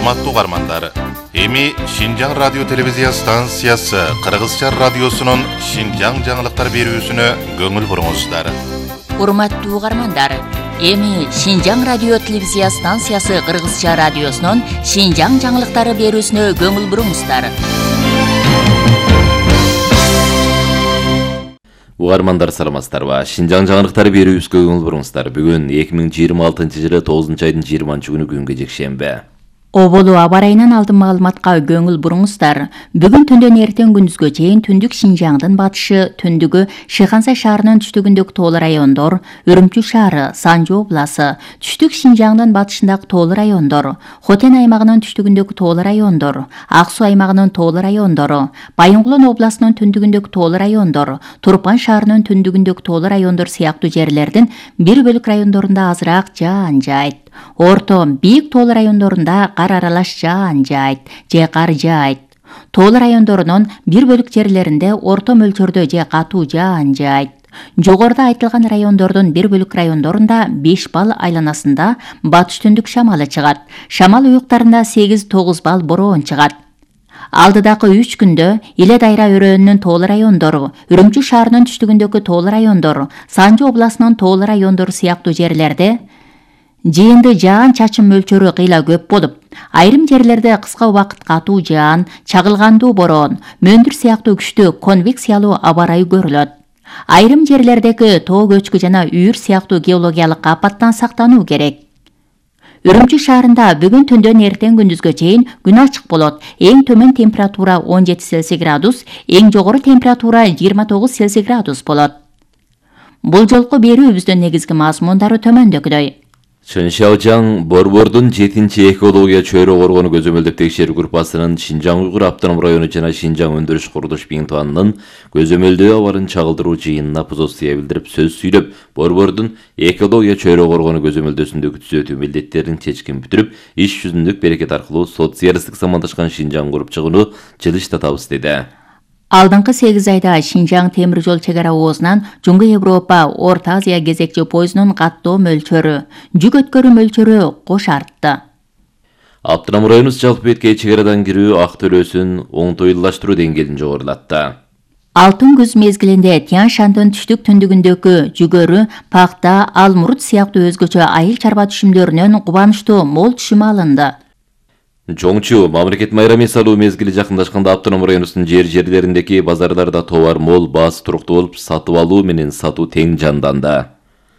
Урматтуу угармандар, эми Шинжаң радио телевизия станциясы Кыргызча радиосунун Шинжаң жаңылыктар берүүсүнө көңүл буруңуздар. Урматтуу угармандар, эми Шинжаң радио телевизия станциясы Кыргызча радиосунун Шинжаң жаңылыктары берүүсүнө көңүл буруңуздар. Угармандар саламатсыздарбы? Шинжаң жаңылыктары берүүбүзгө көңүл буруңуздар. Бүгүн 2026-жылы 9-айдын 20-күнү күнгө жекшемби. Оболу аба ырайынан алдын маалыматка көңүл буруңуздар. Бүгүн түндөн эртең күндүзгө чейин түндүк Шинжаңдын батышы, түндүгү Шыйхансай шаарынын түштүгүндөгү тоолуу райондор, Үрүмчү шаары, Санжы обласы, түштүк Шинжаңдын батышындагы тоолуу райондор, Хотен аймагынын түштүгүндөгү тоолуу райондор, Ак Суу аймагынын тоолуу райондору, Байынгулон областынын түндүгүндөгү тоолуу райондор, Турпан шаарынын түндүгүндөгү тоолуу райондор сыяктуу жерлердин бир бөлүк райондорунда азыраак жаан жайт. Орто, бийик тоолуу райондорунда кар аралаш жаан жайт же кар жаайт. Тоолуу райондорунун бир бөлүк жерлеринде орто мөлчөрдө же катуу жаан жайт. Жогоруда айтылган райондордун бир бөлүк райондорунда 5 балл айланасында батыш түндүк шамалы чыгат. Шамал уюктарында 8-9 балл бороон чыгат. Алдыдагы 3 күндө Иле Дайра өрөөнүнүн тоолуу райондору, Үрүмчү шаарынын түштүгүндөгү тоолуу райондору, Санжы областынын тоолуу райондору сыяктуу жерлерде жыйынды жаан чачым мөлчөрү кыйла көп болуп, айрым жерлерде кыска убакыт катуу жаан, чагылгандуу бороон, мөндүр сыяктуу күчтүү конвекциялуу аба ырайы көрүлөт. Айрым жерлердеги тоо көчкү жана үйүр сыяктуу геологиялык апаттан сактануу керек. Үрүмчү шаарында бүгүн түндөн эртең күндүзгө чейин күн ачык болот. Эң төмөн температура 17 Цельсий градус, эң жогору температура 29 Цельсий градус болот. Бул жолку берүүбүздүн негизги мазмундары төмөндөгүдөй. Чыншаожаң Борбордун 7-чи экология чөйрө коргонуу көзөмөлдөп текшерүү группасынын Шинжаң Уйгур автоном району жана Шинжаң өндүрүш курулуш бинтуанынын көзөмөлдөө абарын чагылдыруу жыйынына позиция билдирип сөз сүйлөп, Борбордун экология чөйрө коргонуу көзөмөлдөсүндөгү түзөтүү милдеттерин чечкин бүтүрүп, иш жүзүндүк берекет аркылуу социалисттик замандашкан Шинжаң куруп чыгууну жылыштатабыз деди. Алдыңкы 8 айда Шинжаң темир жол чек ара оозунан Жуңгу Европа, Орто Азия кезекчи поездунун каттоо мөлчөрү, жүк өткөрүү мөлчөрү кош артты. Автоном районубуз жалпы бетке чек арадан кирүү ак төлөөсүн оңтойлаштыруу деңгээлин жогорулатты. Алтын күз мезгилинде Тянь-Шандын түштүк түндүгүндөгү жүгөрү, пакта, алмурут сыяктуу өзгөчө айыл чарба түшүмдөрүнөн кубанычтуу мол түшүм алынды. Жоңчу мамлекет майрами салуу мезгили жакындашканда автоном районубуздун жерлериндеги базарларда товар мол, баасы туруктуу болуп, сатып алуу менен сатуу тең жанданды.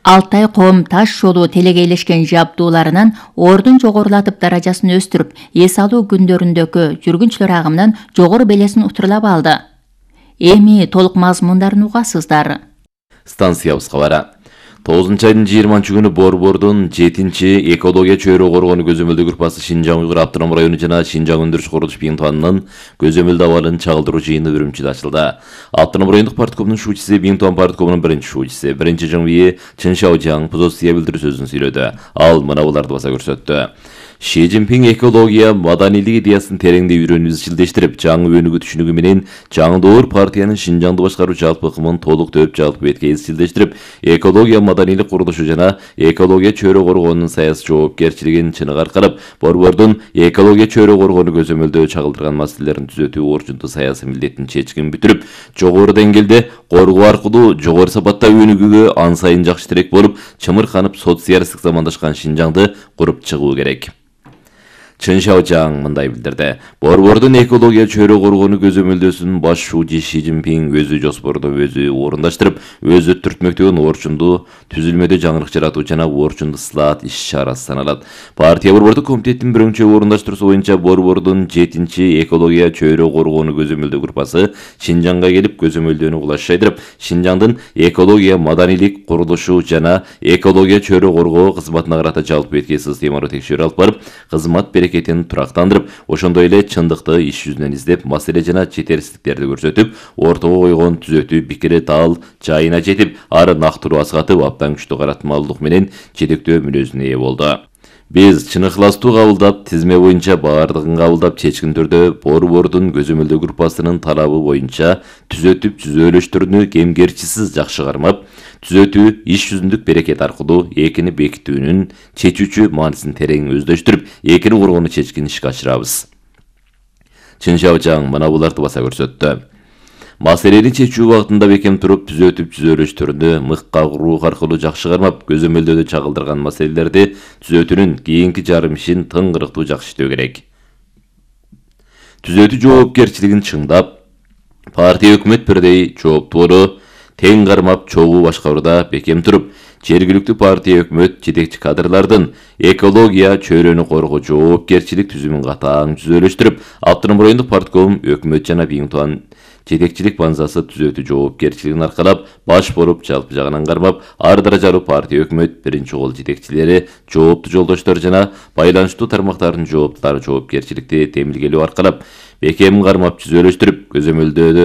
Алтай ком таш жолу телегейлешкен жабдууларынын ордун жогорулатып даражасын өстүрүп, эс алуу күндөрүндөгү жүргүнчүлөр агымынан жогору белесин утурлап алды. Эми толук мазмундарын угасыздар. Станциябыз кабары. 9-айдын 20-күнү Борбордун 7-чи экология чөйрө коргонуу көзөмөлдөө группасы Шинжаң Уйгур автоном району жана Шинжаң өндүрүш курулуш бинтуанынын көзөмөлдөө абалын чагылдыруу жыйыны Үрүмчүдө ачылды. Автоном райондук парткомунун шуучусу, бинтуан парткомунун биринчи шуучусу, биринчи жыңбийи Чыншаожаң позиция билдирүү сөзүн сүйлөдү. Ал мына буларды баса көрсөттү. Ши Цзиньпин экология маданийлик идеясын тереңдей үйрөнүп изчилдештирип, жаңы өнүгүү түшүнүгү менен жаңдоор партиянын Шинжаңды башкаруу жалпы ыкмын толук төп жалпы бетке изчилдештирип, экология маданийлик курулушу жана экология чөйрө коргоонун саясий жоопкерчилигин чыныгы аркалап, Борбордун экология чөйрө коргоонуу көзөмөлдөө чагылдырган маселелерин түзөтүү орчунтуу саясий милдетин чечкин бүтүрүп, жогору деңгээлде коргоо аркылуу жогору сапатта өнүгүүгө ан сайын жакшы тирек болуп, чымырканып социалисттик замандашкан Шинжаңды куруп чыгуу керек. Чыншаожаң мындай билдирди. Борбордун экология чөйрө коргоонуу көзөмөлдөөсүнүн баш шуучу Ши Цзиньпин өзү жоспорду өзү орундаштырып, өз өттүртмөктөгүн орчундуу түзүлмөдө жаңырык жаратуу жана орчундуу ислаат иш-чарасы саналат. Партия борбордук комитеттин биринчи орундаштыруусу боюнча Борбордун 7-чи экология чөйрө коргоонуу көзөмөлдөө группасы Шинжаңга келип көзөмөлдөөнү кулаш жайдырып, Шинжаңдын экология маданийлик курулушу жана экология чөйрө коргоо кызматына карата жалпы бетке системалуу текшерүү алып барып, кызмат берекетин турактандырып, ошондой эле чындыкты иш жүзүнөн издеп, маселе жана четерсиздиктерди көрсөтүп, ортого койгон түзөтүү пикири дал жайына жетип, ары нактыруу аскатып, абдан күчтүү каратмалдык менен жетектөө мүнөзүнө ээ болду. Биз чыныгыластуу кабылдап, тизме боюнча баардыгын кабылдап, чечкин түрдө Борбордун көзөмөлдөө группасынын талабы боюнча түзөтүп түзөөлөштөрүнү кемгерчисиз жакшы кармап, түзөтүү иш жүзүндүк берекет аркылуу экини бекитүүнүн чечүүчү маанисин терең өздөштүрүп, экини коргоону чечкин ишке ашырабыз. Чын Шабжаң мына буларды баса көрсөттү. Маселени чечүү убактында бекем туруп, түзөтүп түзөлүштөрүнү мыкка куруу аркылуу жакшы кармап, көзөмөлдөөдө чагылдырган маселелерди түзөтүүнүн кийинки жарым ишин тыңгырыктуу жакшы иштөө керек. Түзөтүү жоопкерчилигин чыңдап, партия өкмөт бирдей жооптуулу тең кармап чогуу башкарууда бекем туруп, жергиликтүү партия өкмөт жетекчи кадрлардын экология чөйрөнү коргоо жоопкерчилик түзүмүн катаң түзөлүштүрүп, автоном райондук партком өкмөт жана Биңтуан жетекчилик базасы түзөтүү жоопкерчилигин аркалап, баш болуп, жалпы жагынан кармап, ар даражалуу партия өкмөт биринчи кол жетекчилери, жооптуу жолдоштор жана байланыштуу тармактардын жооптулары жоопкерчиликти темилгелөө аркалап, бекем кармап түзөлүштүрүп, көзөмөлдөөдө